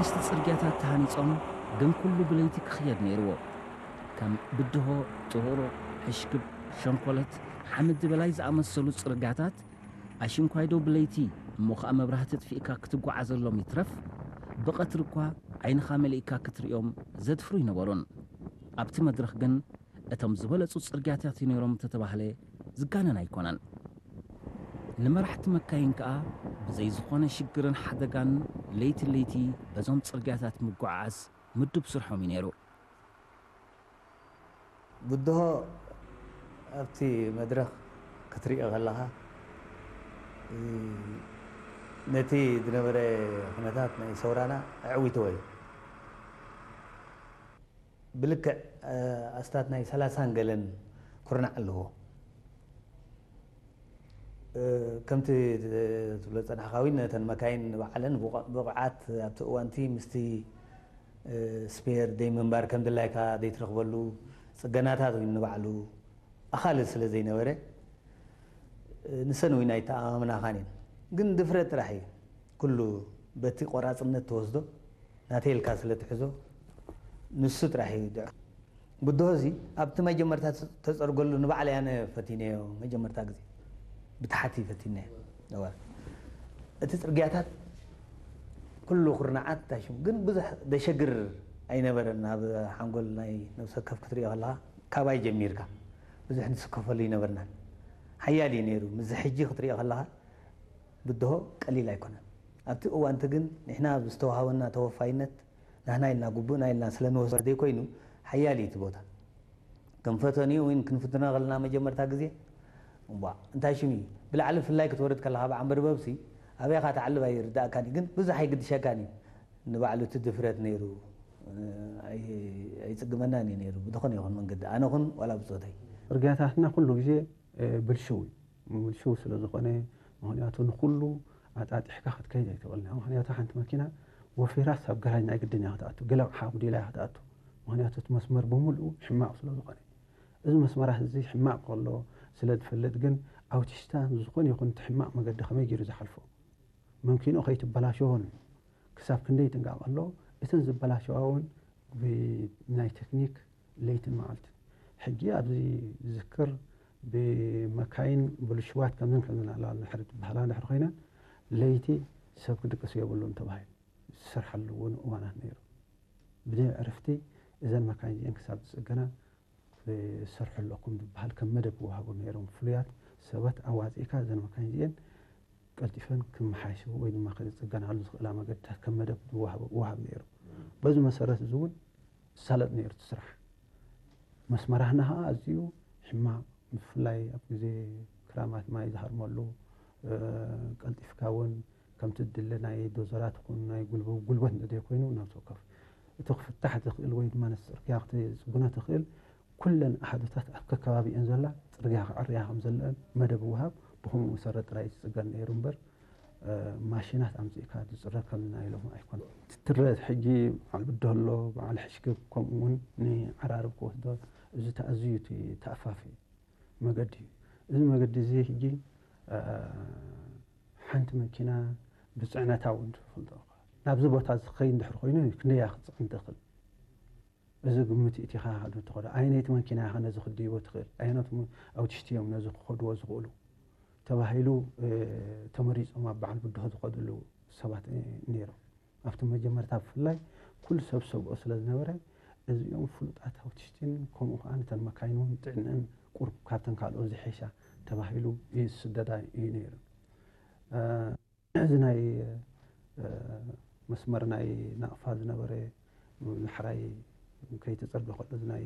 ሓደሽቲ ጽርግያታት ተሃኒጾም፣ ግን ኩሉ ብለይቲ ክኽየድ ነይርዎ። ከም ብድሆ፣ ጥሩሮ፣ ሕሽክብ፣ ሸንኮለት፣ ሓመድ በላይ ዝኣመሰሉ ጽርግያታት ኣሽንኳይዶ ብለይቲ እሞ ኸኣ መብራህቲ ኣጥፊእካ ክትጓዓዘሎም ይትረፍ፣ ብቐትሪ እኳ ዓይንኻ መሊእካ ክትርእዮም ዘድፍሩ ኣይነበሩን። ኣብቲ መድረኽ ግን እቶም ዝበለጹ ጽርግያታት እዩ ነይሮም እንተተባህለ ዝጋነን ኣይኮነን። ንመራሕቲ መካይን ከኣ ብዘይ ዝኾነ ሽግርን ሓደጋን ለይቲ ለይቲ በዞም ጽርግያታት ምጉዓዓዝ ምዱብ ስርሖም እዩ ነይሩ። ብድሆ ኣብቲ መድረኽ ክትሪኦ ከለኻ ነቲ ዝነበረ ኩነታት ናይ ሰውራና ኣዕዊትዎ እዩ። ብልክዕ ኣስታት ናይ ሰላሳን ገለን ኩርናዕ ኣለዎ። ከምቲ ትብሎ ጸናሕካ እውን ነተን መካይን ባዕለን ብቑዓት ኣብቲ እዋንቲ ምስቲ ስፔር ደይ ምንባር ከም ድላይካ ደይ ትረኽበሉ ጽገናታት እውን ንባዕሉ ኣኻሊ ስለ ዘይነበረ ንሰን እውን ኣይተኣማምናኻን እየን። ግን ድፍረት ጥራሕ እዩ። ኩሉ በቲ ቆራጽነት ትወስዶ ናተይ ኢልካ ስለ ትሕዞ ንሱ ጥራሕ እዩ ድዑ። ብድሆ እዚ ኣብቲ መጀመርታ ተጸርገሉ ንባዕለይ ኣነ ፈቲነዮ። መጀመርታ ግዜ ብታሕቲ ፈቲነዮ። እዋ እቲ ጽርግያታት ኩሉ ኩርናዓት ታሽሙ ግን ብዙሕ ደሸግር ኣይነበረን። ኣብ ሓንጎል ናይ ነብሰ ወከፍ ክትሪኦ ከለኻ ካባይ ጀሚርካ ብዙሕ ንስከፈሉ ኣይነበርናን። ሓያል እዩ ነይሩ። ምስዚ ሕጂ ክትሪኦ ከለኻ ብድሆ ቀሊል ኣይኮነን። ኣብቲ እዋንቲ ግን ንሕና ብዝተዋሃበና ተወፋይነት ናህና ኢልና ጉቡእና ኢልና ስለ ንወስዶ ዘይኮይኑ ሓያል እዩ እቲ ቦታ። ከም ፈተንኡ እውን ክንፍትኖ ከለና መጀመርታ ግዜ እምቧ እንታይ ሽም እዩ ብላዕሊ ፍላይ ክትወርድ ከለኻ ብዓንበርበብሲ ኣበይኻ ትዓልብ ኣይርዳእካን እዩ። ግን ብዙሕ ኣይግድሸካን እዩ። ንባዕሉ እቲ ድፍረት ነይሩ ኣይጽግመናን እዩ ነይሩ ብዝኾነ ይኹን መንገዲ ኣነ ኹን ዋላ ብጾተይ። ጽርግያታትና ኩሉ ግዜ ብልሽው እዩ። ብልሽው ስለ ዝኾነ ምኽንያቱ ንኹሉ ኣጣጢሕካ ክትከይድ ኣይትኽእልን ኢኻ። ምኽንያቱ ሓንቲ መኪና ወፊራስ ኣብ ገራጅ ናይ ግድን እያ ክትኣቱ፣ ገለ ኣቕሓ ኣጉዲላ እያ ክትኣቱ። ምኽንያቱ እቲ መስመር ብምልኡ ሕማቕ ስለ ዝኾነ። እዚ መስመራት እዚ ሕማቕ ከሎ ስለ ዝፈልጥ ግን ኣውቲስታ ዝኾነ ይኹን እቲ ሕማቕ መገዲ ከመይ ገይሩ ዝሓልፎ? መኪንኡ ከይትበላሸዎን ክሳብ ክንደይ ይጥንቀቕ ኣሎ። እተን ዝበላሸዋ እውን ብናይ ቴክኒክ ለይትን መዓልትን። ሕጂ ኣብዚ ዝዝክር ብመካይን ብልሽዋት ከምዝን ከምዝን ኣለዋ እንድሕር ዝበሃላ እንድሕር ኮይነን ለይቲ ሰብ ክድቅስ የብሉን ተባሂሉ ዝሰርሓሉ እውን እዋናት ነይሩ። ብዘይ ዕርፍቲ እዘን መካይን እዚአን ክሳብ ዝፅገና ዝሰርሑ ኣለኩም ዝበሃል ከም መደብ ይወሃቡ ነይሮም። ፍሉያት ሰባት ኣዋፂእካ እዘን መካይን እዚአን ቀልጢፈን ክመሓየሹ ወይ ድማ ክፅገናሉ ዝኽእላ መገድታት ከም መደብ ይወሃብ ይወሃብ ነይሩ። በዚ መሰረት እዚ እውን ዝሳለጥ ነይሩ እቲ ስራሕ። መስመራህና ከዓ ኣዝዩ ሕማቕ፣ ብፍላይ ኣብ ግዜ ክራማት ማይ ዝሃርመሉ ቀልጢፍካ እውን ከምቲ ድለ ናይ ዶዘራት ይኹን ናይ ጉልበ- ጉልበት እንተዘይኮይኑ ነብሲ ወከፍ እቲ ክፍታሕ ዝኽእል ወይ ድማ ነቲ ፅርግያ ክትፅግኖ ትኽእል ኩለን ኣሃዱታት ኣብ ከከባቢኤን ዘላ ፅርግያ ክዕርያ ከም ዘለአን መደብ ይወሃብ። ብኸምኡ መሰረት ጥራይ እዩ ዝፅገን ነይሩ እምበር ማሽናት ኣምፂእካ ዝፅረግ ከምዚ ናይ ሎሚ ኣይኮነን። ትትረዝ ሕጂ በዓል ብድሆ ኣሎ፣ በዓል ሕሽክብ ከምኡ እውን ንዓራርብ ክወስዶ እዚ ተኣዝዩ እቲ ተኣፋፊ መገዲ እዩ። እዚ መገዲ እዚ ሕጂ ሓንቲ መኪና ብፅዕነታ እውን ትፈልጦ ናብዚ ቦታ እዚ ክኸይድ እንድሕር ኮይኑ ክንደያ ክትፅዕን ትኽእል? እዚ ግምት እቲኻ ዶ ትኸዶ? ኣየነይቲ መኪና ኢኻ ነዚ ክትድይቦ ትኽእል? ኣየኖት ኣውቲስት እዮም ነዚ ክኸድዎ ዝኽእሉ? ተባሂሉ ተመሪጾም ኣብ በዓል ብድሆ ዝኸድሉ ሰባት ነይሮም። ኣብቲ መጀመርታ ብፍላይ ኩሉ ሰብ ሰግኦ ስለ ዝነበረ እዚኦም ፍሉጣት ኣውቲስትን ከምኡ ከዓ ነተን መካይን እውን ጥዕነን ቁሩብ ካብተን ካልኦት ዝሐሻ ተባሂሉ ይስደዳ እዩ ነይሩ። እዚ ናይ መስመር ናይ ናቕፋ ዝነበረ ንሕራይ ከይተፀርገ ከሎ እዚ ናይ